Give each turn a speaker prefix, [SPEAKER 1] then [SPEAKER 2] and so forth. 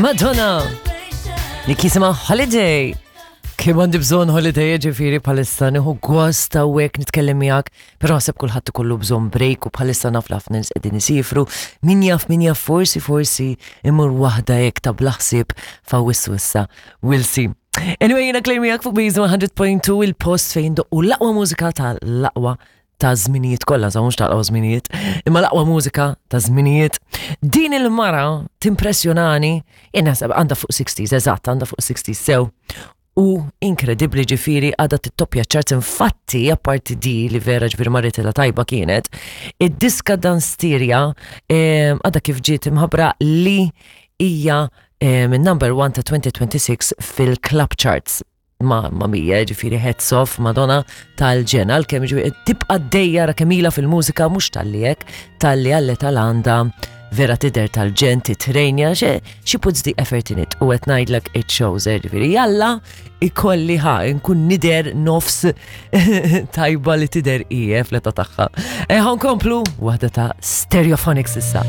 [SPEAKER 1] Madonna! Li jisimha Holiday. Kemm għandi bżonn holiday ġifieri bħalissa nieħu gost hawnhekk nitkellem miegħek, però naħseb kulħadd ikollu bżonn break u bħalissa naf ħafna nies qegħdin isifru. Min jaf min jaf forsi forsi imur waħda hekk ta' bla ħsieb f'Awwissu issa. We'll see. Anyway, jiena Claire miegħek fuq Biż 100.2 il-post fejn doqqu l-aqwa mużika tal-aqwa ta' żminijiet kollha, sa mhux ta' żminijiet, imma l-aqwa mużika ta' żminijiet. Din il-mara timpressjonani, jien naħseb għandha fuq 60s, eżatt, għandha fuq 60s sew. U inkredibbli ġifieri għadha tittoppja charts infatti apparti di li vera ġifieri marritilha tajba kienet, id-diska Dansteria għadha kif ġiet imħabbra li hija minn number one ta' 2026 fil-club charts. Ma, ma mija, ġifiri hats off, Madonna tal-ġena, għal-kem ġifiri tibqa d-dejja ra kemila fil-mużika, mux tal-li jek, tal-li għalli tal-għanda vera tider tal-ġen, titrejnja, she puts the effort in it, u għet najdlek it shows, eh, ġifiri, jalla, ikolli ħa, nkun nider nofs tajba li tider ije fleta taħħa. Eħan eh, komplu, wahda ta' Stereophonics issa.